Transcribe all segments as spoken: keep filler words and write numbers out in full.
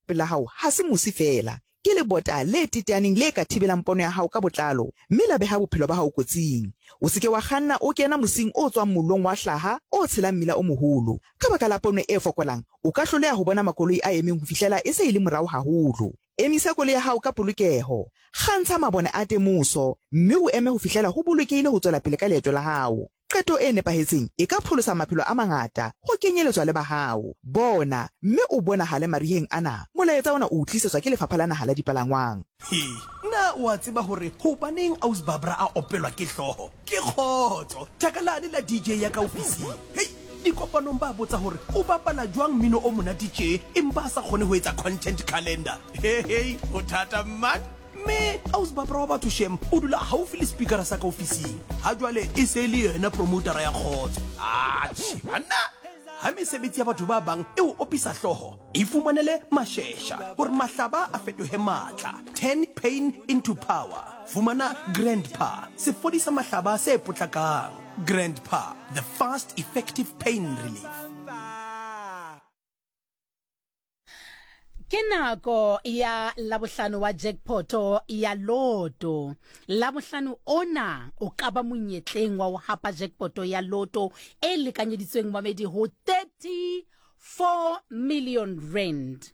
Pela hao ha se mosi feela, ke lebota le teteaneng le ka thibelang pono ya hao ka botlalo mme la beha bophelo ba hao kotsing. O se ke wa kganna o kena mosing o tswang mollong wa hlaha o tshelang mmila o moholo. Ka baka la pono e fokolang, o ka hloleha ho bona makoloi a emeng ho fihlela e se e le morao haholo. Emisa koloi ya hao ka polokeho, kgantsha mabone a temoso mme o eme ho fihlela ho bolokehile ho tswela pele ka leeto la hao. Qeto e nepahetseng e ka pholosa maphelo a mangata, ho kenyeletswa le ba hao. Bona mme o bonahale mariheng ana. Molaetsa ona o o tlisetswa ke Lefapha la Naha la Dipalangwang. He, na o a tseba hore hobaneng Aus Barbara a opelwa ke hlooho? Ke kgotso! Thaka lane la D J ya ka ofising. Hei, dikopanong ba botsa hore o bapala jwang mmino o monate tje empa a sa kgone ho etsa content calendar. He hei, ho thata man! Mme Aus Barbara wa batho shem o dula haufi le speakera sa ka ofising. Ha jwale e se e le yena promotera ya kgotso. Atjhe banna! Ha mesebetsi ya batho ba bang e o opisa hlooho, ifumanele mashesha hore mahlaba a fetohe matla. Turn pain into power. Fumana Grandpa, sefodisa mahlaba se potlakang. Grandpa, the fast effective pain relief. Ke nako ya Labohlano wa jackpoto ya Lotto. Labohlano ona o ka ba monyetleng wa ho hapa jackpoto ya Lotto e lekanyeditsweng mamedi ho thirty-four million rand.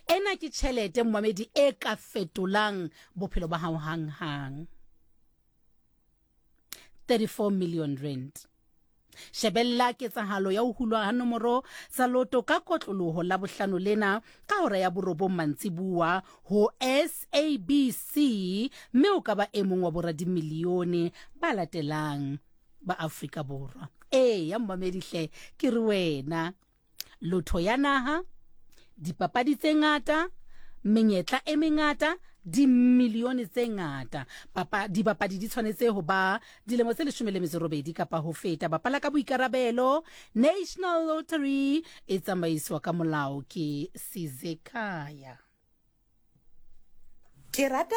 Ena ke tjhelete momamedi e ka fetolang bophelo ba hao hang-hang. thirty-four million rand. Shebella ketsahalo ya ho hulwa ha nomoro tsa Lotto ka kotloloho Labohlano lena ka hora ya borobong mantsibuwa ho S A B C, mme o ka ba e mong wa boradimilione ba latelang ba Afrika Borwa. E ya momamedi hle, ke re wena lotho ya naha, dipapadi tse ngata, menyetla e mengata, dimilione tse ngata. Papa, dibapadi di tshwanetse ho ba dilemo tse leshome le metso robedi kapa ho feta. Bapala ka boikarabelo. National Lottery e tsamaiswa ka molao ke Sizekaya. Ke rata